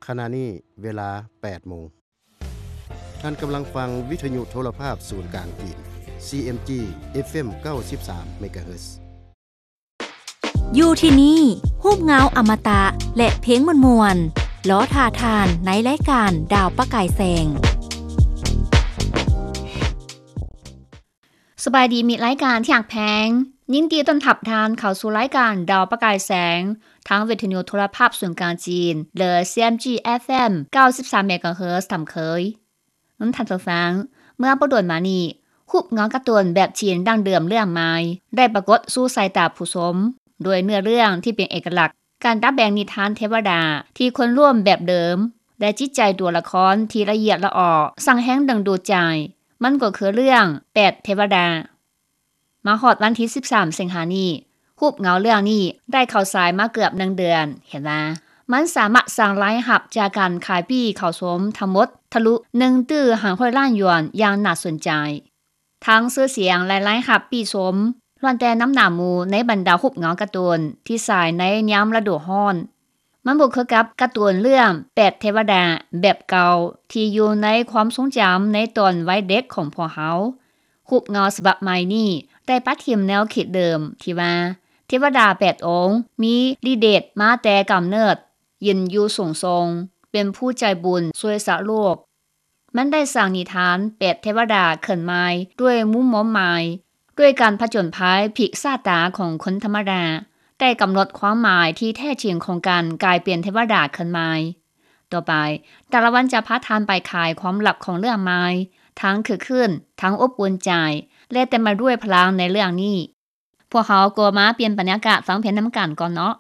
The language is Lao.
ຂະນະນີ້ເວລາແປດໂມງ. ທ່ານກຳລັງຟັງວິທະຍຸໂທລະພາບສູນກາງຈີນ ຊີເອັມຈີ ເອັຟເອັມ ເກົ້າສິບສາມເມກາເຮີດ. ຢູ່ທີ່ນີ້ ຮູບເງົາອະມະຕະ ແລະ ເພງມ່ວນໆ ລໍຖ້າທ່ານໃນລາຍການດາວປະກາຍແສງ. ສະບາຍດີມິດລາຍການທີ່ຮັກແພງ, ຍິນດີຕ້ອນຮັບທ່ານເຂົ້າສູ່ລາຍການດາວປະກາຍແສງ ທາງວິທະຍຸໂທລະພາບສູນກາງຈີນ ຫຼື ຊີເອັມຈີ ເອັຟເອັມ ເກົ້າສິບສາມເມກາເຮີດຕາມເຄີຍ. ທ່ານຜູ້ຟັງ, ເມື່ອບໍ່ດົນມານີ້ ຮູບເງົາກາຕູນແບບຈີນດັ້ງເດີມເລື່ອງໃໝ່ ໄດ້ປາກົດສູ່ສາຍຕາຜູ້ຊົມ ໂດຍເນື້ອເລື່ອງທີ່ເປັນເອກະລັກ, ການດັດແປງນິທານເທວະດາທີ່ຄົນຮ່ວມແບບເດີມ ແລະ ຈິດໃຈຕົວລະຄອນທີ່ລະອຽດລະອໍ ສ້າງແຮງດຶງດູດໃຈ, ມັນກໍຄືເລື່ອງແປດເທວະດາ. ມາຮອດວັນທີສິບສາມສິງຫານີ້, ຮູບເງົາເລື່ອງນີ້ໄດ້ເຂົ້າສາຍມາເກືອບໜຶ່ງເດືອນ. ເຫັນວ່າມັນສາມາດສ້າງລາຍຮັບຈາກການຂາຍປີ້ເຂົ້າຊົມທັງໝົດທະລຸໜຶ່ງຕື້ຫ້າຮ້ອຍລ້ານຢວນຢ່າງໜ້າສົນໃຈ. ທັງຊື່ສຽງ ແລະ ລາຍຮັບປີ້ຊົມ ລ້ວນແຕ່ນຳໜ້າໝູ່ໃນບັນດາຮູບເງົາກາຕູນທີ່ສາຍໃນຍາມລະດູຮ້ອນ. ມັນບໍ່ຄືກັບກາຕູນເລື່ອງແປດເທວະດາແບບເກົ່າ ທີ່ຢູ່ໃນຄວາມຊົງຈຳໃນຕອນໄວເດັກຂອງພວກເຮົາ. ຮູບເງົາສະບັບໃໝ່ນີ້ໄດ້ປະຖິ້ມແນວຄິດເດີມທີ່ວ່າ ເທວະດາແປດອົງມີລິດເດດມາແຕ່ກຳເນີດ, ຢືນຢູ່ສູງສົ່ງ, ເປັນຜູ້ໃຈບຸນຊ່ວຍຊາດໂລກ. ມັນໄດ້ສ້າງນິທານແປດເທວະດາຂຶ້ນໃໝ່ດ້ວຍມຸມມອມໝາຍ, ດ້ວຍການຜະຈົນໄພພລິກຊາດຕາຂອງຄົນທຳມະດາ, ໄດ້ກຳນົດຄວາມໝາຍທີ່ແທ້ຈິງຂອງການກາຍເປັນເທວະດາຂຶ້ນໃໝ່. ຕໍ່ໄປ, ຕາລະວັນຈະພາທ່ານໄປໄຂຄວາມລັບຂອງເລື່ອງໃໝ່, ທັງຄຶກຄື້ນ, ທັງອົບອຸ່ນໃຈ ແລະ ເຕັມໄປດ້ວຍພະລັງໃນເລື່ອງນີ້. ພວກເຮົາກໍມາປ່ຽນບັນຍາກາດຟັງເພງນຳກັນກ່ອນເນາະ.